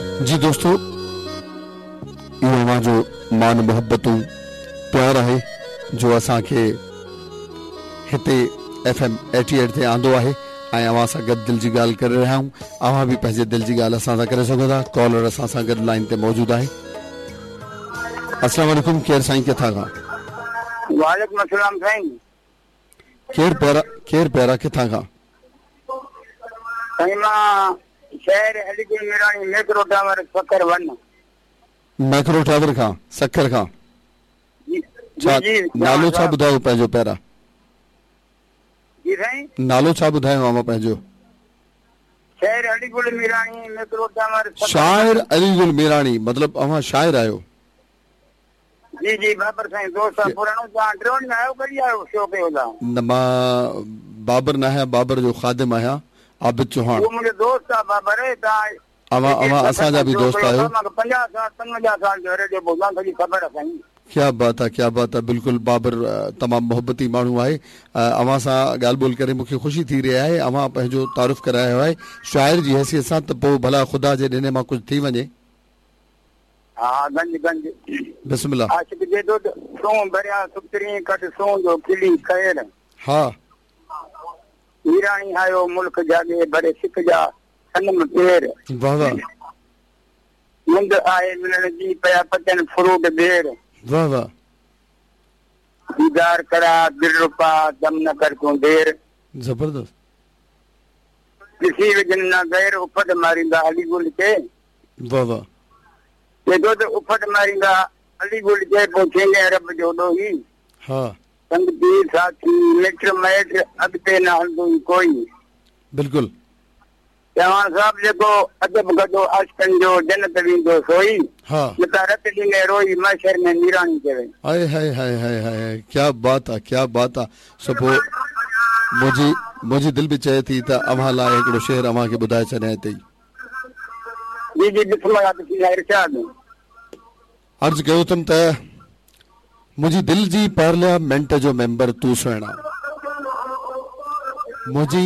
جي دوستو اهو اوهان جو مان محبتون پيار آهي جو اسان کي هتي ايف ايم ايٽي ايٽ تي آندو آهي ۽ اوهان سان گڏ دل جي ڳالهه ڪري رهيا آهيون اوهان به پنهنجي دل جي ڳالهه اسان سان ڪري سگهو ٿا ڪالر اسان سان گڏ لائن تي موجود آهي السلام عليڪم ڪير سائين ڪٿان کان وعليڪم السلام سائين ڪير پيارا ڪير پيارا ڪٿان کان سائين مان شهر Ali Gul Mirani Macro tower Sukkur one. Macro tower کان سکر کان ڇا نالو ڇا ٻڌايو پنهنجو پيارا. جي سائين. نالو ڇا ٻڌايو اوهان پنهنجو. شاعر علي گل ميراڻي ميڪرو ٽاور سکر. شاعر علي گل ميراڻي مطلب اوهان شاعر آهيو. جي جي بابر سائين دوست آ پراڻو توهان ٽيون ڏينهن آيو ڪڏهن آيو شو ڪيو توهان. نه مان بابر نه آهيان بابر جو خادم آهيان عابد چوهاڻ. اهو منهنجو دوست آ بابر توهان اوهان اوهان اسان جا به دوست آهيو. مان 50 سال 55 سال جو ريڊيو ٻڌان سڄي خبر آ سائين. ڪيا بات آ ڪيا بات آ بلڪل بابر تمام محبتي ماڻهو آهي اوهان سان ڳالهه ٻولهه ڪري مونکي خوشي ٿي رهي آهي اوهان پنهنجو تعارف ڪرايو آهي شاعر جي حيثيت سان ته پوء ڀلا خدا جي ڏني مان ڪجهه ٿي وڃي. ها گنج گنج. بسم الله. عاشق جي دود سون ڀريا سپترين ڪڍ سون جو کلي خير. ها. ميراڻي آيو ملڪ جاڳي ڀري سک جا صنم پير. واه واه. مند آهي ملڻ جي پيا پچن فروٽ ٻير. واه واه. ديدار ڪرا دلربا دم نه ڪر تون دير. زبردست. ڏسي وجهن نه غير اڦٽ ماريندا علي گل کي. واه واه. چئي ٿو ته اڦٽ ماريندا علي گل کي پوء ٿيندين رب جو ڏوهي. ها. سنگتي ساٿي مٽ مائٽ اڳتي نه هلندو ئي ڪوئي. بلڪل. چوهاڻ صاحب جيڪو ادب ڪندو عاشقن جو جنت ويندو سوئي. ها. متان رت ڏيندين روئي محشر ۾ ميراڻي چوي. هائي هائي هائي هائي هائي هائي ڪيا بات آ ڪيا بات آ سو پوء منهنجي منهنجي دل به چئي ٿي ته اوهان لاء هڪڙو شعر اوهان کي ٻڌائي ڇڏيان هتي ئي. جي جي بسم الله بسم الله ارشاد. عرض ڪيو اٿم ته منهنجي دل جي پارليامينٽ جو ميمبر تون سهڻا منهنجي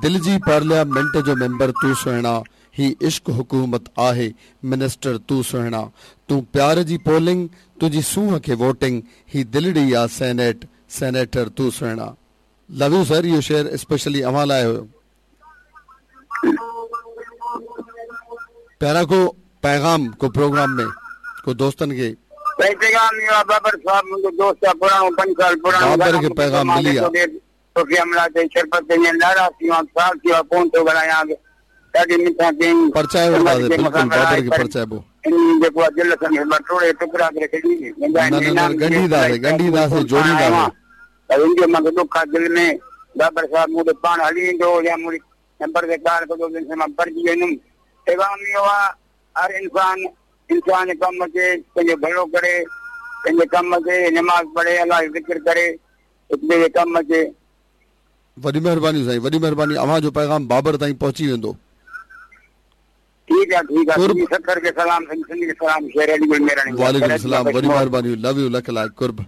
دل جي پارليامينٽ جو ميمبر تون سهڻا هي عشق حڪومت آهي منسٽر تون سهڻا تون پيار جي پولنگ تنهنجي سونهن کي ووٽنگ هي دلڙي آ سينيٽ سينيٽر تون سهڻا لو you سر اهو شعر اسپيشلي اوهان لاء هيو. پيارا ڪو پيغام ڪو پروگرام ۾ ڪو دوستن کي. سائين پيغام اهو آ بابر صاحب منهنجو دوست آ پراڻو پنج سال پراڻو بابر کي پيغام ملي آ. توکي حملا چئي شربت چئي ۽ ناراض ٿي ويو آن سال ٿي ويو آ ڪون ٿو ڳالهايان ڏاڍي منٿان ڪيائين پرچائي وٺنداسين بلڪل بابر کي پرچائبو. انهي جيڪو آ دل سان مان ٽوڙي ٽڪرا ڪري ڇڏي نه نه نه ڳنڍينداسين ڳنڍينداسين جوڙينداسين. پر ان جو مونکي ڏک آ دل ۾ بابر صاحب مون ڏي پاڻ هلي ايندو هو يا مون نمبر تي ڪال ڪندو هو جنهن سان مان پرچي ويندم پيغام اهو آ هر انسان انسان جي ڪم اچي پنهنجو ڀلو ڪري پنهنجي ڪم اچي نماز پڙهي الله جو ذڪر ڪري هڪ ٻئي جي ڪم اچي. وڏي مهرباني سائين وڏي مهرباني اوهان جو پيغام بابر تائين پهچي ويندو. ٺيڪ آ ٺيڪ آ سنڌي سکر کي سلام سنڌ کي سلام شير علي گل ميراڻي وعليڪم السلام وڏي مهرباني لو يو لک لائق قرب.